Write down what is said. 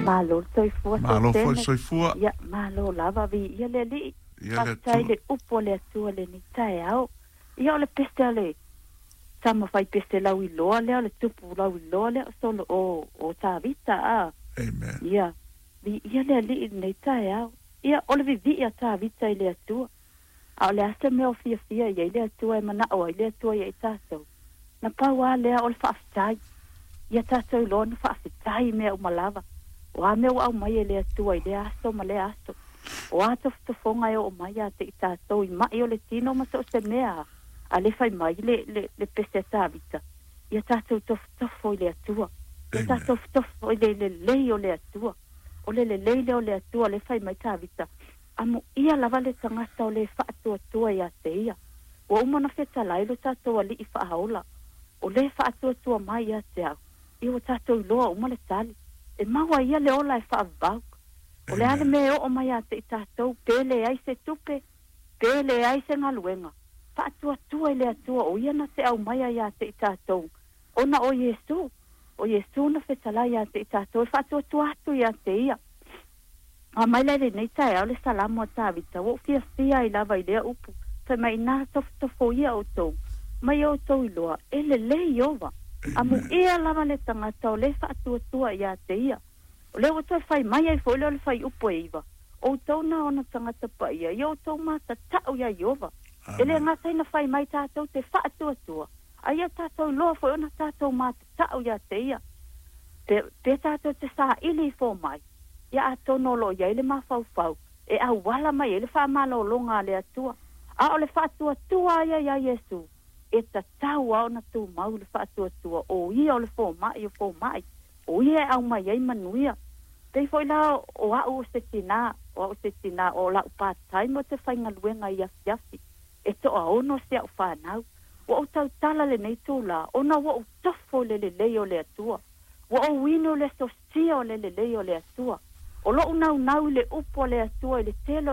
Malo le soifua. Malo foi le soifua. Ia, malo lava, viia le Alii. Ia le Faafetai Atua. Le upu a le Atua lenei taeao. Ia, o le pese a le tama fai pese lauiloa lea, o le tupu lauiloa lea o Solo o Tavita a. Amen. Ia, viia le Alii i lenei taeao. Ia, o le vivii a Tavita i le Atua. A o le a se mea o fiafia i ai le Atua e manao ai le Atua ia i tatou? Na pau lava lea o le faafetai. Ia tatou iloa ona faafetai i mea uma lava. O a mea ua aumai e le Atua i lea aso ma lea aso? O a tofotofoga e oo mai ia te i tatou i mai o le tino ma so o se mea a le fai mai le pese a Tavita? Ia tatou tofotofo i le Atua. Ia tatou tofotofo i le lelei o le Atua. O le lelei lea o le Atua le fai mai Tavita. Amuia lava le tagata o le faatuatua ia te ia. Ua uma ona fetalai lo tatou Alii faaola. O le faatuatua mai ia te au. Ia ua tatou iloa uma le tali. E maua ia le ola e faavavau. O le a le mea e oo mai ia te i tatou, pe leai se tupe, pe leai se galuega. Faatuatua i le Atua o ia na te aumaia ia te i tatou. Ona o Iesu, o Iesu na fetalai ia te i tatou e faatuatua atu ia te ia. A mai la lenei taeao le Salamo a Tavita, ua ou fiafia ai lava i lea upu. Fai mai ina tofotofo ia outou, mai outou iloa, e lelei Ieova. Amuia lava le tagata o le faatuatua ia te ia. O lea ua toe fai mai ai foi lea o le fuaiupu e 9. Outou na ona tagata paia, ia outou matatau iā Ieova. E le gata ina fai mai tatou te faatuatua, a ia tatou iloa foi ona tatou matatau ia te ia. Pe tatou te saili i fomai, ia atonu o lo o i ai le mafaufau e auala mai ai le faamalologa a le Atua. A o le faatuatua ia iā Iesu, e tatau lava ona tumau le faatuatua o ia o le fomai o fomai, o ia e aumai ai manuia. Pei foi la o au o se tinā, o au se tinā o lau part time o te faigaluega i afiafi, e toaono si au fanau. Ua ou tautala lenei itulā, ona ua ou tofo i le lelei o le Atua. Ua ou inu i le sosia o le lelei o le Atua. O lou naunau i le upu a le Atua i le tele.